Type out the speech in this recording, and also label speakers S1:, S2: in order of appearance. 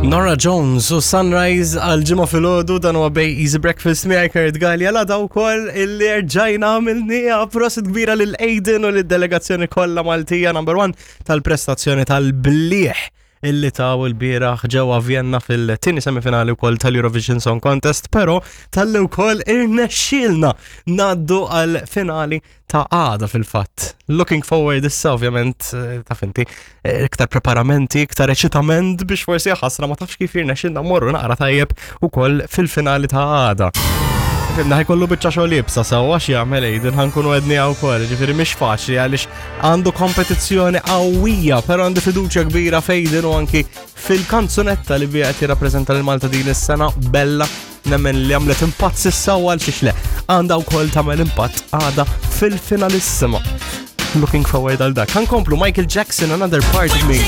S1: Nora Jones u Sunrise għal ġimgħa filgħodu dan huwa bej Easy Breakfast miegħi Kurt Gallia la daw wkoll illi rġajna għamilniha prosit kbira lil Aiden u lid-delegazzjoni kollha Maltija number one tal-prestazzjoni tal-bliħ illi taw il-bieraħ ġewwa Vienna fil-tieni semifinali wkoll tal-Eurovision Song Contest, però tal-li wkoll irnexxielna ngħaddu għal finali ta' għada fil-fatt. Looking forward issa ovvjament eh, ta' finti eh, iktar preparamenti, iktar eċitament biex forsi ħasra ma tafx kif jirnexxilna morru naqra tajjeb ukoll fil-finali ta' għada. Fimna ħajkollu biċċa xogħol iebsa sewwa x'jagħmel Aiden ħankunu għedni wkoll, ġifieri mhix faċli għaliex għandu kompetizzjoni qawwija, però għandi fiduċja kbira f'Aiden u anki fil-kanzunetta li biha qed jirrappreżenta lil Malta din is-sena Bella nemmen li għamlet impatt sissa u għal xiex le. Għandha wkoll tagħmel impatt għada fil-finalissima. Looking forward għal dak. Ħankomplu Michael Jackson, Another Part of Me.